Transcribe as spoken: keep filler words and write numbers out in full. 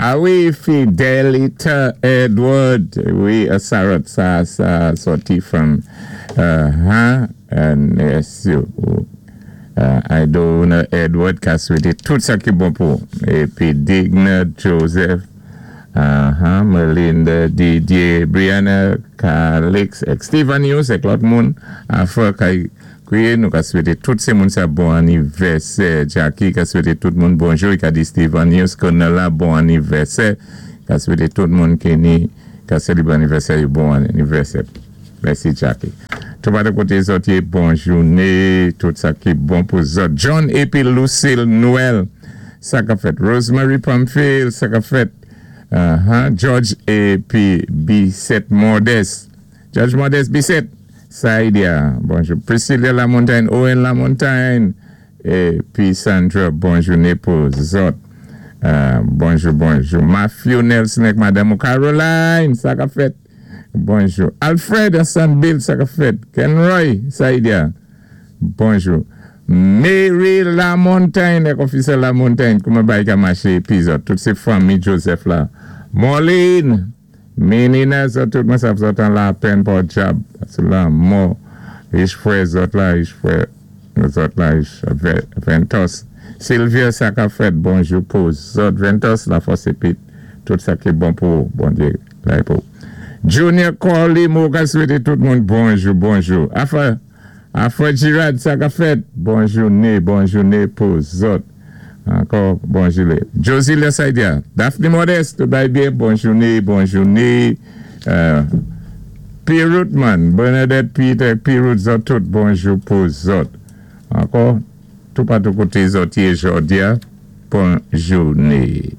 A wi, Fidelita Edward. Wi, Sarah, sa, sa sòti from, uh, huh? And yes, you, uh, Idona Edward ka swété tout sa ki bon pou. Épi Digna Joseph, uh-huh, Melinda, Didier, Brianna, Calix, ek Stephen Hughes, ek lòt moun, afè kay kwié, nou ka swété tout sé moun sa bon anivèsè. Jackie ka swété tout moun bonjou, i ka di Stephen Hughes kon la bon anivèsè, ka swété tout moun ki ni ka sélébwé anivèsè yo bon anivèsè. Mèsi, Jackie. Tout pa koté zòt yé, bon jouné, tout sa ki bon pou zòt. John épi Lucille Noël, sa ka fèt. Rosemary Pamphile, sa ka fèt. Uh-huh. George épi Bissette Modeste. George Modeste Bissette. Saidia, bonjou. Priscilla Lamontagne, Owen Lamontagne, épi Sandra, bon jouné pou zòt. Uh, bonjou, bonjou. Matthew Nelson ek Madame Caroline, sa ka fèt. Bonjou. Alfred Hassan Bill, sa ka fèt. Ken Roy, Saidia, bonjou. Mary Lamontagne, ek officer Lamontagne, kouman bay ka maché épi zòt. Tout sé fanmi Joseph la. Marlene, Menina, zòt tout mwen sav zòt an lapèn pòdyab. Sou lanmò. Rich frè zòt la, rich frè zòt la, rich Ventos. Sylvia, sa ka fèt, bonjou pou zòt. Ventos, la fòs épi tout sa ki bon pou, Bondyé, la pou. Junior Corley, mwen ka swété tout moun bonjou, bonjou. Afa, Afa Girard, sa ka fèt, bon jouné, bon jouné pou zòt. Ankò, bonjou. Josie Lesaidia, Daphne Modeste, tout bay byen, bon jouné, bon jouné. Euh, P. Rootman, Bernadette Peter, P. Root, zòt tout, bonjou pou zòt. Ankò, tout patou koté zòt yé jòdi a, bon jouné.